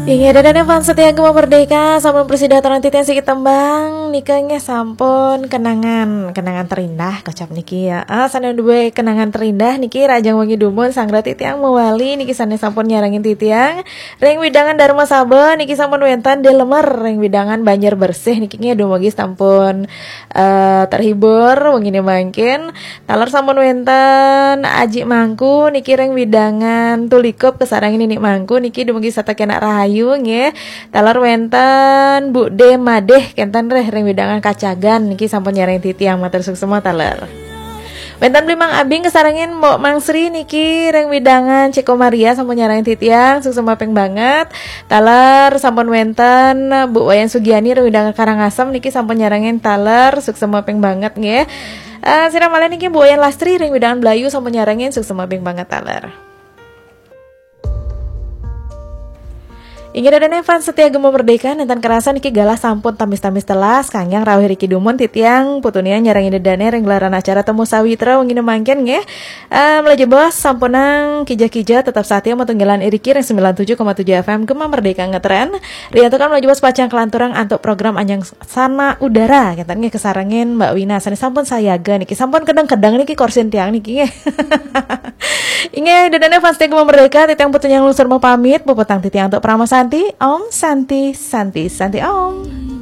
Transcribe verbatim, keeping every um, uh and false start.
Inggih, ida dané fans setia Gema Merdeka, sampun prasida aturang titiang siki tembang nika nggih sampun kenangan, kenangan terindah kocap niki ya. Ah, sané duwe kenangan terindah niki rahajeng wengi dumun, sanggra titiang mewali niki sané sampun nyarengin titiang ring wewidangan Darma Saba niki sampun wénten Dé Lemer ring wewidangan Banjar Bersih niki nggih, dumugi sampun eh, terhibur wenginé mangkin. Taler sampun wénten Aji Mangku niki ring wewidangan Tulikup, kasarengin Nini Mangku niki dumugi setata kenak rahayu nggih. Taler wénten Bu Dé Madé kénten rih ring wewidangan Kacagan niki sampun nyarengin titiang, matur suksma taler. Wénten Bli Mang Abing kasarengin Mbok Mang Sri niki ring wewidangan Ceko Maria sampun nyarengin titiang, suksma ping banget. Taler sampun wénten Bu Wayan Sugiani ring wewidangan Karangasem niki sampun nyarengin taler, suksma ping banget nggih. Eh, sira malih niki Bu Wayan Lastri ring wewidangan Blayu sampun nyarengin, suksma ping banget taler. Inggih ida dané fans setia Gema Merdeka, nénten kerasa niki galah sampun tamis-tamis telas, kanggéang rauh riki dumun titiang putunian nyarengin ida dané ring gelaran acara Temu Sawitra wenginé mangkin nggih. Eh, malajah bos sampunang kija-kija tetap setia matunggilan iriki ring sembilan tujuh koma tujuh F M Gema Merdeka ngetren. Riantukan malajah bos pacang kalanturang antuk program Anjang Sana Udara, kénten nggih, kasarengin Mbak Wina sané sampun sayaga niki, sampun kedeng-kedeng niki korsin tiang niki nggih. Inggih, ida dané fans setia Gema Merdeka, titiang putunian nglungsur mapamit, puputang titiang antuk Parama Santi, Om Santi, Santi, Santi Om.